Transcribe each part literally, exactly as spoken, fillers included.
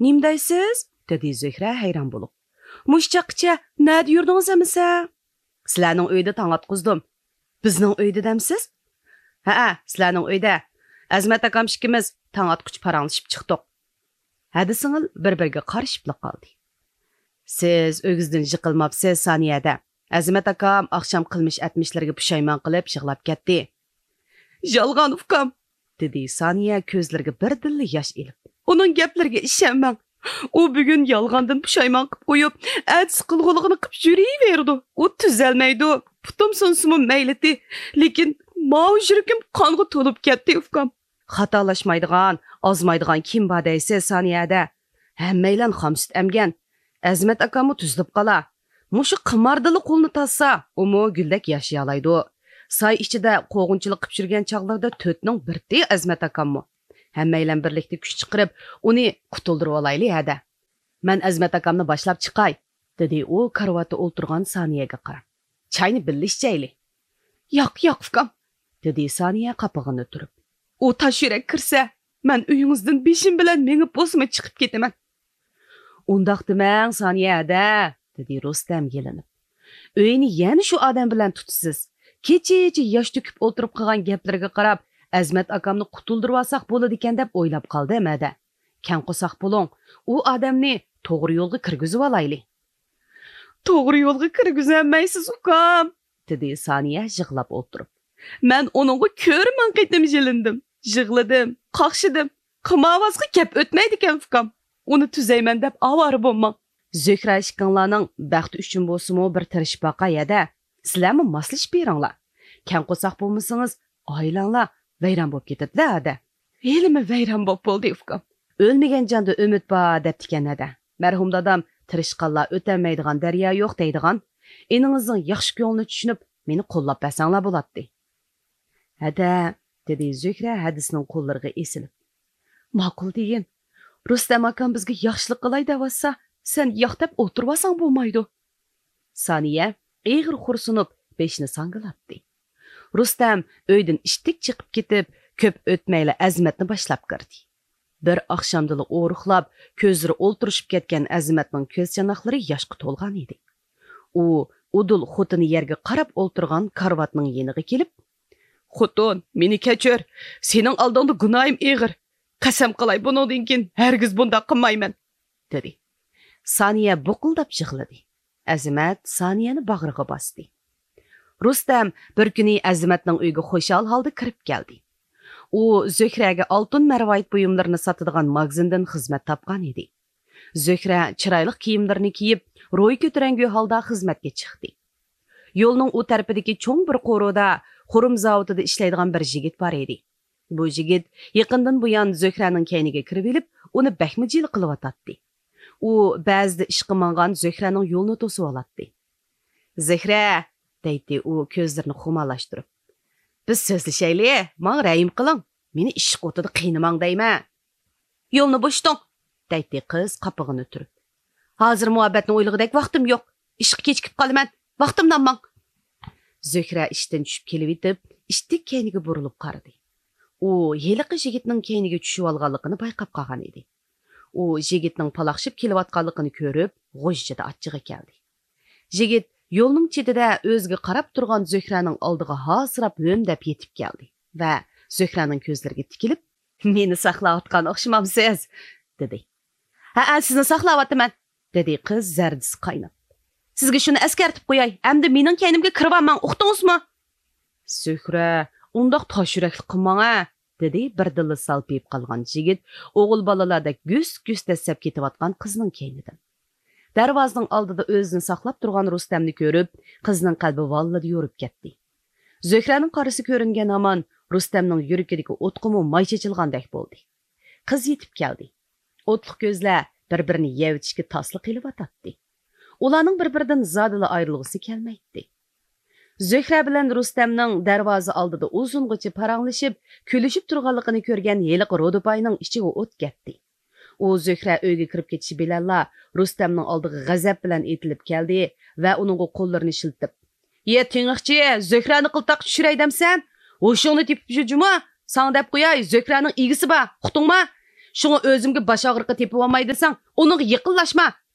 نېمە دەيسىز؟ دېدى زۆھرە ھەيران بولۇپ. مۇشۇ چاغقىچە نەدە يۈردىڭىز ئەمىسە؟ سىلەرنىڭ ئۆيدە تاڭ ئاتقۇزدۇم. بىزنىڭ ئۆيدە دەمسىز؟ ھەئە، سىلەرنىڭ ئۆيدە. ئەزىمەت ئاكام ئىككىمىز تاڭ ئاتقۇچە پاراڭلىشىپ چىقتۇق. ھەدە سىڭىل بىر-بىرىگە قارىشىپلا قالدى. سىز ئۆگزىدىن جىقىلماپسىز، سانىيە ھەدە. ئەزىمەت ئاكام ئاخشام قىلمىش ئەتمىشلىرىگە پۇشايمان قىلىپ يىغلاپ كەتتى. يالغان ئۇكام، دېدى سانىيە كۆزلىرىگە بىردىنلا ياش ئېلىپ. ئۇنىڭ گەپلىرىگە ئىشەنمەڭ. ئۇ بۈگۈن يالغاندىن پۇشايمان قىپ قويۇپ، ئەتىسى قىلغۇلىقىنى قىپ يۈرۈۋېرىدۇ. ئۇ تۈزەلمەيدۇ. پۇتۇم سۇنسىمۇ مەيلىتى. لېكىن ماۋۇ يۈرىكىم قانغا تولۇپ كەتتى، ئۇكام. خاتالاشمايدىغان، ئازمايدىغان كىم بار دەيسىز، سانىيە ھەدە؟ ھەممەيلەن خام سۈت ئەمگەن. ئەزىمەت ئاكاممۇ تۈزىلىپ قالا. مۇشۇ قىماردىنلا قولىنى تارتسا، ئۇمۇ گۈلدەك ياشىيالايدۇ. ساي ئىچىدە قوغۇنچىلىق قىپ يۈرگەن چاغلىرىدا تۆتنىڭ بىرتى ئەزىمەت ئاكاممۇ. ھەممەيلەن بىرلىكتە كۈچ چىقىرىپ، ئۇنى قۇتۇلدۇرۇۋالايلى ھەدە. مەن ئەزىمەت ئاكامنى باشلاپ چىقاي، دېدى ئۇ كارىۋاتتا ئولتۇرغان سانىيەگە قاراپ. چاينى بىللە ئىچەيلى. ياق، ياق، ئۇكام، دېدى سانىيە قاپىقىنى تۈرۈپ. ئۇ تاش يۈرەك كىرسە، مەن ئۆيىڭىزدىن بېشىم بىلەن مېڭىپ بولسىمۇ چىقىپ كېتىمەن. ئۇنداق دېمەڭ، سانىيە ھەدە، دېدى رۇستەم يېلىنىپ. ئۆينى يەنە شۇ ئادەم بىلەن تۇتىسىز. كېچىچە ياش تۆكۈپ ئولتۇرۇپ قىلغان گەپلىرىگە قاراپ، ئەزىمەت ئاكامنى قۇتۇلدۇرۇۋالساق بولىدىكەن دەپ ئويلاپ قالدىم ھەدە. كەڭ قورساق بولۇڭ، ئۇ ئادەمنى توغرا يولغا كىرگۈزۈۋالايلى. توغرا يولغا كىرگۈزەلمەيسىز، ئۇكام، دېدى سانىيە يىغلاپ ئولتۇرۇپ. مەن ئۇنىڭغا كۆرە مىڭ قېتىم يېلىندىم، يىغلىدىم، قاقشىدىم. قىمارۋازغا گەپ ئۆتمەيدىكەن، ئۇكام. ئۇنى تۈزەيمەن دەپ ئاۋارە بولماڭ. زۆھرە ئىككىڭلارنىڭ بەختى ئۈچۈن بولسىمۇ بىر تىرىشىپ باقاي ھەدە. سىلەرمۇ ماسلىشىپ بېرىڭلار. كەڭ قورساق بولمىسىڭىز، ئائىلەڭلار ۋەيران بولۇپ كېتىدىلە ھەدە. ھېلىمۇ ۋەيران بولۇپ بولدى، ئۇكام. ئۆلمىگەن جاندا ئۈمىد بار دەپتىكەن ھەدە. مەرھۇم دادام تىرىشقانلار ئۆتەلمەيدىغان دەريا يوق دەيدىغان. ئىنىڭىزنىڭ ياخشى كۆڭلىنى چۈشىنىپ، مېنى قوللاپ بەرسەڭلار بولاتتى. ھەدە، دېدى زۆھرە ھەدىسىنىڭ قوللىرىغا ئېسىلىپ. ماقۇل دېگىن. رۇستەم ئاكام بىزگە ياخشىلىق قىلاي دەۋاتسا، سەن ياق دەپ ئولتۇرۇۋالساڭ بولمايدۇ. سانىيە ئېغىر خورسۇنۇپ، بېشىنى ساڭگىلاتتى. رۇستەم ئۆيدىن ئىتتىك چىقىپ كېتىپ، كۆپ ئۆتمەيلا ئەزىمەتنى باشلاپ كىردى. بىر ئاخشامدىلا ئورۇقلاپ، كۆزلىرى ئولتۇرۇشۇپ كەتكەن ئەزىمەتنىڭ كۆز چاناقلىرى ياشقا تولغان ئىدى. ئۇ ئۇدۇل خوتۇنى يەرگە قاراپ ئولتۇرغان كارىۋاتنىڭ يېنىغا كېلىپ، خوتۇن، مېنى كەچۈر، سېنىڭ ئالدىڭدا گۇناھىم ئېغىر. قەسەم قىلاي، بۇنىڭدىن كېيىن ھەرگىز بۇنداق قىلمايمەن، دېدى. سانىيە بۇقۇلداپ يىغلىدى. ئەزىمەت سانىيەنى باغرىغا باستى. رۇستەم بىر كۈنى ئەزىمەتنىڭ ئۆيىگە خۇشال ھالدا كىرىپ كەلدى. ئۇ زۆھرەگە ئالتۇن مەرۋايىت بۇيۇملىرىنى ساتىدىغان ماگىزىندىن خىزمەت تاپقان ئىدى. زۆھرە چىرايلىق كىيىملىرىنى كىيىپ، روھى كۆتۈرەڭگۈ ھالدا خىزمەتكە چىقتى. يولنىڭ ئۇ تەرىپىدىكى چوڭ بىر قورۇدا خۇرۇم زاۋۇتىدا ئىشلەيدىغان بىر يىگىت بار ئىدى. بۇ يىگىت يېقىندىن بۇيان زۆھرەنىڭ كەينىگە كىرىۋېلىپ، ئۇنى بەكمۇ جىلە قىلىۋاتاتتى. ئۇ بەزىدە ئىشقا ماڭغان زۆھرەنىڭ يولىنى توسۇۋالاتتى. زۆھرە، دەيتتى ئۇ كۆزلىرىنى خۇمارلاشتۇرۇپ. بىز سۆزلىشەيلى، ماڭا رەھىم قىلىڭ. مېنى ئىشق ئوتىدا قىينىماڭ دەيمەن. يولنى بوشىتىڭ، دەيتتى قىز قاپىقىنى تۈرۈپ. ھازىر مۇھەببەتنى ئويلىغۇدەك ۋاقتىم يوق. ئىشقا كېچىكىپ قالىمەن. ۋاقتىمنى ئالماڭ. زۆھرە ئىشتىن چۈشۈپ كېلىۋېتىپ، ئىتتىك كەينىگە بۇرۇلۇپ قارىدى. ئۇ ھېلىقى يىگىتنىڭ كەينىگە چۈشۈۋالغانلىقىنى بايقاپ قالغان ئىدى. ئۇ يىگىتنىڭ پالاقشىپ كېلىۋاتقانلىقىنى كۆرۈپ، غۇژژىدە ئاچچىقى كەلدى. يىگىت يولنىڭ چېتىدە ئۆزىگە قاراپ تۇرغان زۆھرەنىڭ ئالدىغا ھاسىراپ ھۆم دەپ يېتىپ كەلدى ۋە زۆھرەنىڭ كۆزلىرىگە تىكىلىپ، مېنى ساقلاۋاتقان ئوخشىمامسىز؟ دېدى. ھەئە، سىزنى ساقلاۋاتىمەن، دېدى قىز زەردىسى قايناپ. سىزگە شۇنى ئەسكەرتىپ قوياي، ئەمدى مېنىڭ كەينىمگە كىرىۋالماڭ، ئۇقتىڭىزمۇ؟ زۆھرە، ئۇنداق تاش يۈرەكلىك قىلماڭ ھە، دېدى بىردىنلا سالپىيىپ قالغان يىگىت ئوغۇل بالىلاردەك گۈس-گۈس دەسسەپ كېتىۋاتقان قىزنىڭ كەينىدىن. دەرۋازىنىڭ ئالدىدا ئۆزىنى ساقلاپ تۇرغان رۇستەمنى كۆرۈپ، قىزنىڭ قەلبى ۋاللىدە يورۇپ كەتتى. زۆھرەنىڭ قارىسى كۆرۈنگەن ھامان رۇستەمنىڭ يۈرىكىدىكى ئوتقىمۇ ماي چېچىلغاندەك بولدى. قىز يېتىپ كەلدى. ئوتلۇق كۆزلەر بىر-بىرىنى يەۋېتىشكە تاسلا قېلىۋاتاتتى. ئۇلارنىڭ بىر-بىرىدىن زادىلا ئايرىلغۇسى كەلمەيتتى. زۆھرە بىلەن رۇستەمنىڭ دەرۋازا ئالدىدا ئۇزۇنغىچە پاراڭلىشىپ، كۈلۈشۈپ تۇرغانلىقىنى كۆرگەن ھېلىقى رودىپاينىڭ ئىچىگە ئوت كەتتى. ئۇ زۆھرە ئۆيگە كىرىپ كېتىشى بىلەنلا رۇستەمنىڭ ئالدىغا غەزەپ بىلەن ئېتىلىپ كەلدى ۋە ئۇنىڭغا قوللىرىنى شىلتىپ، يە تېڭىقچى، زۆھرەنى قىلتاققا چۈشۈرەي دەمسەن؟ ھوشۇڭنى تېپىپ يۈر جۇمۇ! ساڭا دەپ قوياي، زۆھرەنىڭ ئىگىسى بار، ئۇقتۇڭما؟ شۇڭا ئۆزۈمگە باش ئاغرىقى تېپىۋالماي دېسەڭ، ئۇنىڭغا يېقىنلاشما!»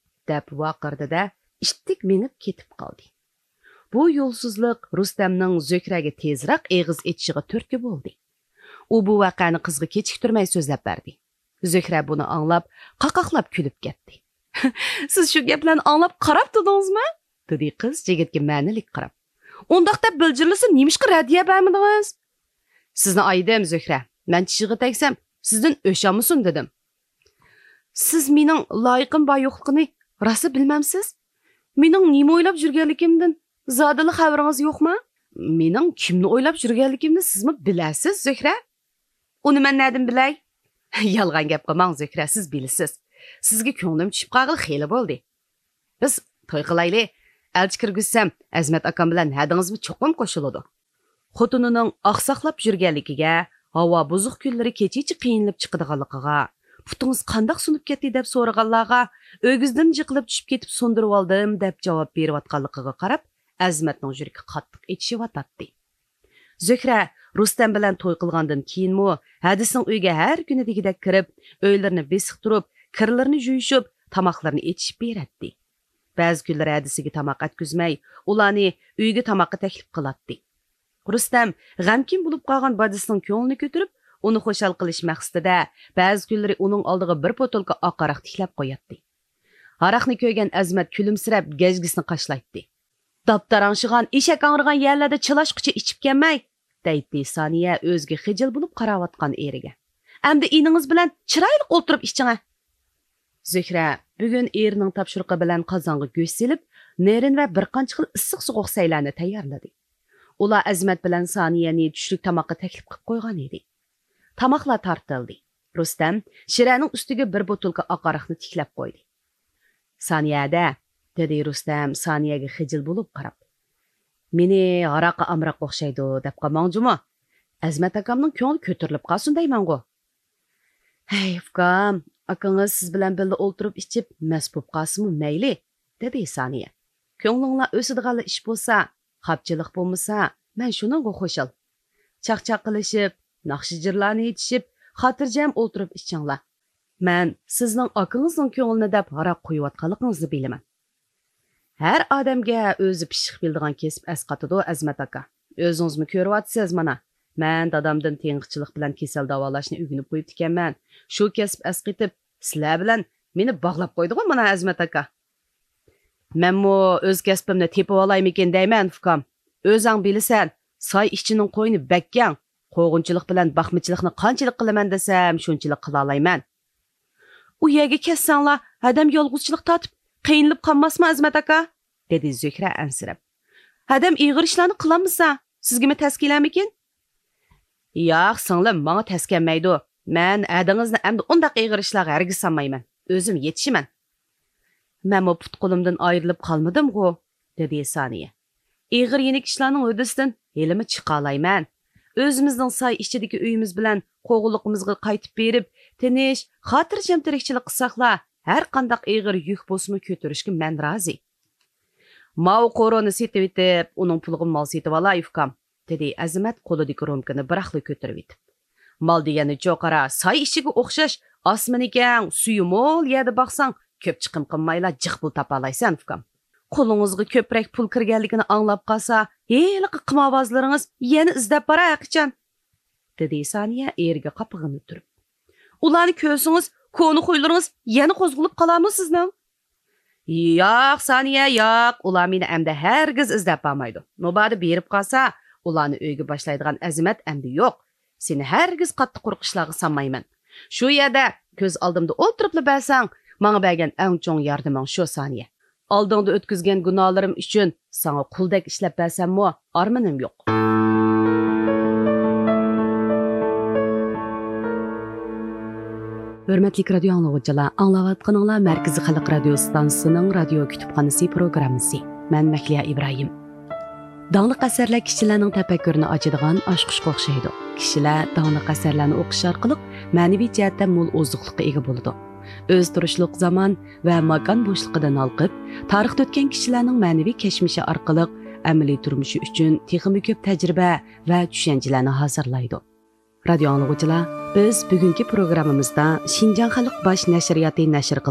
دەپ ۋارقىرىدى-دە، ئىتتىك مېڭىپ كېتىپ قالدى. بۇ يولسىزلىق رۇستەمنىڭ زۆھرەگە تېزراق ئېغىز ئېچىشىغا تۈرتكە بولدى. ئۇ بۇ ۋەقەنى قىزغا كېچىكتۈرمەي سۆزلەپ بەردى. زۆھرە بۇنى ئاڭلاپ، قاقاقلاپ كۈلۈپ كەتتى. «سىز شۇ گەپلەرنى ئاڭلاپ قاراپ تۇردىڭىزمۇ؟» دېدى قىز يىگىتكە مەنىلىك قاراپ. «ئۇنداق دەپ بىلجىرلىسا، نېمىشقا رەددىيە بەرمىدىڭىز؟» «سىزنى ئايىدىم، زۆھرە. مەن چىشىغا تەگسەم، سىزدىن ئۆچ ئالمىسۇن دېدىم.» «سىز مېنىڭ لايىقىم بار يوقلۇقىنى راسلا بىلمەمسىز؟ مېنىڭ نېمە ئويلاپ يۈرگەنلىكىمدىن زادىلا خەۋىرىڭىز يوقما؟» «مېنىڭ كىمنى ئويلاپ يۈرگەنلىكىمنى سىزمۇ بىلەسىز، زۆھرە.» «ئۇنى مەن نەدىن بىلەي؟» «يالغان گەپ قىلماڭ، زۆھرە، سىز بىلىسىز. سىزگە كۆڭلۈم چۈشۈپ قالغىلى خېلى بولدى. بىز توي قىلايلى. ئەلچى كىرگۈزسەم، ئەزىمەت ئاكام بىلەن ھەدىڭىزمۇ چوقۇم قوشۇلىدۇ.» خوتۇنىنىڭ ئاقساقلاپ يۈرگەنلىكىگە، ھاۋا بۇزۇق كۈنلىرى كېچىچە قىينىلىپ چىقىدىغانلىقىغا، «پۇتىڭىز قانداق سۇنۇپ كەتتى؟» دەپ سورىغانلارغا، «ئۆگزىدىن جىقىلىپ چۈشۈپ كېتىپ سۇندۇرۇۋالدىم» دەپ جاۋاب بېرىۋاتقانلىقىغا قاراپ، ئەزىمەتنىڭ يۈرىكى قاتتىق ئېچىشىۋاتاتتى. زۆھرە رۇستەم بىلەن توي قىلغاندىن كېيىنمۇ ھەدىسىنىڭ ئۆيىگە ھەر كۈنى دېگۈدەك كىرىپ، ئۆيلىرىنى بېسىق تۇرۇپ، كىرلىرىنى يۇيۇشۇپ، تاماقلىرىنى ئېتىشىپ بېرەتتى. بەزى كۈنلىرى ھەدىسىگە تاماق ئەتكۈزمەي، ئۇلارنى ئۆيىگە تاماققا تەكلىپ قىلاتتى. رۇستەم غەمكىن بولۇپ قالغان بادىسىنىڭ كۆڭلىنى كۆتۈرۈپ، ئۇنى خۇشال قىلىش مەقسىتىدە بەزى كۈنلىرى ئۇنىڭ ئالدىغا بىر بوتۇلكا ئاق ھاراق تىكلەپ قوياتتى. ھاراقنى كۆرگەن ئەزىمەت كۈلۈمسىرەپ گەجگىسىنى قاشلايتتى. «داپتاراڭشىغان، ئېشەك ھاڭرىغان يەرلەردە چىلاشقۇچە ئىچىپ كەلمەي!» دەيتتى سانىيە ئۆزىگە خىجىل بولۇپ قاراۋاتقان ئېرىگە. «ئەمدى ئىنىڭىز بىلەن چىرايلىق ئولتۇرۇپ ئىچىڭە.» زۆھرە بۈگۈن ئېرىنىڭ تاپشۇرۇقى بىلەن قازانغا گۆش سېلىپ، نېرىن ۋە بىر قانچە خىل ئىسسىق سوغۇق سەيلەرنى تەييارلىدى. ئۇلار ئەزىمەت بىلەن سانىيەنى چۈشلۈك تاماققا تەكلىپ قىلىپ قويغان ئىدى. تاماقلار تارتىلدى. رۇستەم شىرەنىڭ ئۈستىگە بىر بوتۇلكا ئاق ھاراقنى تىكلەپ قويدى. «سانىيە ھەدە!» دېدى رۇستەم سانىيەگە خىجىل بولۇپ قاراپ. «مېنى ھاراققا ئامراق ئوخشايدۇ دەپ قالماڭ جۇمۇ. ئەزىمەت ئاكامنىڭ كۆڭلى كۆتۈرۈلۈپ قالسۇن دەيمەنغۇ.» «ھەي، ئۇكام، ئاكىڭىز سىز بىلەن بىللە ئولتۇرۇپ ئىچىپ مەست بولۇپ قالسىمۇ مەيلى» دېدى سانىيە. «كۆڭلۈڭلار ئۆسىدىغانلا ئىش بولسا، خاپچىلىق بولمىسا، مەن شۇنىڭغا خۇشال. چاقچاق قىلىشىپ، ناخشا-جىرلارنى ئېيتىشىپ، خاتىرجەم ئولتۇرۇپ ئىچىڭلار. مەن سىزنىڭ ئاكىڭىزنىڭ كۆڭلىنى دەپ ھاراق قۇيۇۋاتقانلىقىڭىزنى بىلىمەن.» «ھەر ئادەمگە ئۆزى پىششىق بىلىدىغان كەسىپ ئەسقاتىدۇ، ئەزىمەت ئاكا. ئۆزىڭىزمۇ كۆرۈۋاتىسىز مانا. مەن دادامدىن تېڭىقچىلىق بىلەن كېسەل داۋالاشنى ئۆگىنىپ قويۇپتىكەنمەن. شۇ كەسىپ ئەسقىتىپ، سىلەر بىلەن مېنى باغلاپ قويدىغۇ مانا، ئەزىمەت ئاكا.» «مەنمۇ ئۆز كەسپىمنى تېپىۋالايمىكىن دەيمەن، ئۇكام. ئۆزەڭ بىلىسەن، ساي ئىچىنىڭ قوينى بەك كەڭ. قوغۇنچىلىق بىلەن باقمىچىلىقنى قانچىلىك قىلىمەن دېسەم، شۇنچىلىك قىلالايمەن.» «ئۇ يەرگە كەتسەڭلار، ھەدەم يالغۇزچىلىق تارتىپ، قىينىلىپ قالماسمۇ، ئەزىمەت ئاكا؟» دېدى زۆھرە ئەنسىرەپ. «ھەدەم ئېغىر ئىشلارنى قىلالمىسا، سىزگىمۇ تەس كېلەرمىكىن؟» «ياق، سىڭلىم، ماڭا تەس كەلمەيدۇ. مەن ھەدىڭىزنى ئەمدى ئۇنداق ئېغىر ئىشلارغا ھەرگىز سالمايمەن. ئۆزۈم يېتىشىمەن.» «مەنمۇ پۇت-قولۇمدىن ئايرىلىپ قالمىدىمغۇ؟» دېدى سانىيە. «ئېغىر-يېنىك ئىشلارنىڭ ھۆددىسىدىن ھېلىمۇ چىقالايمەن. ئۆزىمىزنىڭ ساي ئىچىدىكى ئۆيىمىز بىلەن قوغۇنلۇقىمىزغا قايتىپ بېرىپ، تىنچ، خاتىرجەم تىرىكچىلىك قىلساقلا، ھەر قانداق ئېغىر يۈك بولسىمۇ كۆتۈرۈشكە مەن رازى.» «ماۋۇ قورۇنى سېتىۋېتىپ، ئۇنىڭ پۇلىغا مال سېتىۋالاي، ئۇكام.» دېدى ئەزىمەت قولىدىكى رومكىنى بىراقلا كۆتۈرۈۋېتىپ. «مال دېگەننىچۇ قارا، ساي ئىچىگە ئوخشاش، ئاسمىنى كەڭ، سۈيى مول يەردە باقساڭ، كۆپ چىقىم قىلمايلا جىق پۇل تاپالايسەن، ئۇكام. قولىڭىزغا كۆپرەك پۇل كىرگەنلىكىنى ئاڭلاپ قالسا، ھېلىقى قىمارۋازلىرىڭىز يەنە ئىزدەپ بارار ھەرقاچان.» دېدى سانىيە ئېرىگە قاپىقىنى تۈرۈپ. «ئۇلارنى كۆرسىڭىز، كونا خۇيلىرىڭىز يەنە قوزغىلىپ قالارمۇ سىزنىڭ؟ ياق، سانىيە، ياق، ئۇلار مېنى ئەمدى ھەرگىز ئىزدەپ بارمايدۇ. مۇبادا بېرىپ قالسا، ئۇلارنى ئۆيگە باشلايدىغان ئەزىمەت ئەمدى يوق. سېنى ھەرگىز قاتتىق قۇرۇق ئىشلارغا سالمايمەن. شۇ يەردە كۆز ئالدىمدا ئولتۇرۇپلا بەرسەڭ، ماڭا بەرگەن ئەڭ چوڭ ياردىمىڭ شۇ، سانىيە. ئالدىڭدا ئۆتكۈزگەن گۇناھلىرىم ئۈچۈن ساڭا قۇلدەك ئىشلەپ بەرسەممۇ، ئارمىنىم يوق.» ھۆرمەتلىك رادىيو ئاڭلىغۇچىلار، ئاڭلاۋاتقىنىڭلار مەركىزىي خەلق رادىيو ئىستانسىسىنىڭ رادىيو كۇتۇپخانىسى پروگراممىسى. مەن مەھلىيا ئىبراھىم. داڭلىق ئەسەرلەر كىشىلەرنىڭ تەپەككۇرىنى ئاچىدىغان ئاچقۇچقا ئوخشايدۇ. كىشىلەر داڭلىق ئەسەرلەرنى ئوقۇش ئارقىلىق مەنىۋى جەھەتتە مول ئوزۇقلۇققا ئىگە بولىدۇ. ئۆز تۇرۇشلۇق زامان ۋە ماكان بوشلۇقىدىن ھالقىپ، تارىختا ئۆتكەن كىشىلەرنىڭ مەنىۋى كەچمىشى ئارقىلىق ئەمەلىي تۇرمۇشى ئۈچۈن تېخىمۇ كۆپ تەجرىبە ۋە چۈشەنچىلەرنى ھازىرلايدۇ. رادىيو ئاڭلىغۇچىلار، بىز بۈگۈنكى پروگراممىمىزدا شىنجاڭ خەلق باش نەشرىياتى نەشر قىلغان